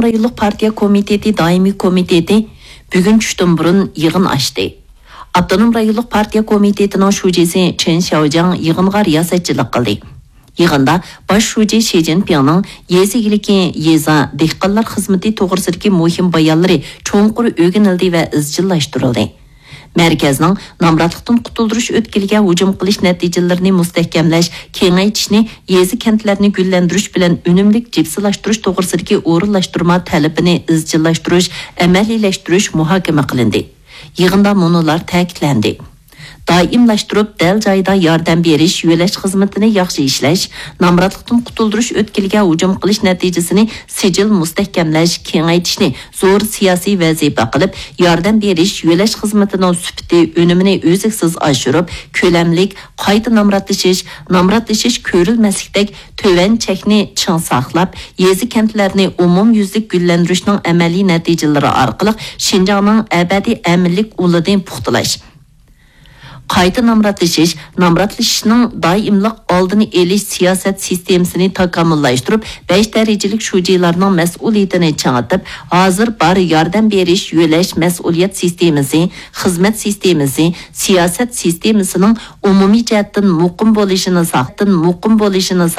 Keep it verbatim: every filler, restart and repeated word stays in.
رايونلۇق پارتىيە كومىتېتى دائىمىي كومىتېتى بۈگۈن چۈشتىن بۇرۇن يىغىن ئاچتى. ئاپتونوم رايونلۇق پارتىيە كومىتېتىنىڭ شۇجىسى چېن شياۋجياڭ يىغىنغا رىياسەتچىلىك قىلدى. يىغىندا باش شۇجى شى جىنپىڭنىڭ يېزا ئىگىلىكى، يېزا، دېھقانلار خىزمىتى توغرىسىدىكى مۇھىم بايانلىرى چوڭقۇر ئۆگىنىلدى ۋە ئىزچىللاشتۇرۇلدى. مەركەزنىڭ نامراتلىقتىن قۇتۇلدۇرۇش ئۆتكىلىگە ھۇجۇم قىلىش نەتىجىلىرىنى مۇستەھكەملەش، كېڭەيتىشنى، يېزا، كەنتلەرنى گۈللەندۈرۈش بىلەن ئۈنۈملۈك جىپسىلاشتۇرۇش توغرىسىدىكى ئورۇنلاشتۇرما تەلىپىنى ئىزچىللاشتۇرۇش، ئەمەلىيلەشتۈرۈش مۇھاكىمە قىلىندى. يىغىندا مۇنۇلار تەكىتلەندى. دائىملاشتۇرۇپ دەل جايىدا ياردەم بېرىش، يۆلەش خىزمىتىنى ياخشى ئىشلەش، نامراتلىقتىن قۇتۇلدۇرۇش ئۆتكىلىگە ھۇجۇم قىلىش نەتىجىسىنى سىجىل مۇستەھكەملەش، كېڭەيتىشنى زور سىياسىي ۋەزىپە قىلىپ، ياردەم بېرىش، يۆلەش خىزمىتىنىڭ سۈپىتى، ئۈنۈمىنى ئۈزلۈكسىز ئاشۇرۇپ، كۆلەملىك، قايتا نامراتلىشىش، نامراتلىشىش كۆرۈلمەسلىكتەك تۆۋەن چەكنى چىڭ ساقلاپ، يېزا، كەنتلەرنى ئومۇميۈزلۈك گۈللەندۈرۈشنىڭ ئەمەلىي نەتىجىلىرى ئارقىلىق شىنجاڭنىڭ ئەبەدىي ئەمىنلىك ئۇلىنى پۇختىلاش، قايتا نامراتلىشىش، نامراتلىشىشنىڭ دائىملىق ئالدىنى ئېلىش سىياسەت سىستېمىسىنى تاكامۇللاشتۇرۇپ، بەش دەرىجىلىك شۇجىلارنىڭ مەسئۇلىيىتىنى چىڭىتىپ، ھازىر بار ياردەم بېرىش، يۆلەش مەسئۇلىيەت سىستېمىسى، خىزمەت سىستېمىسى، سىياسەت سىستېمىسىنىڭ ئومۇمىي جەھەتتىن مۇقىم بولۇشىنى ساقتىن مۇقىم بولۇشىنى ساق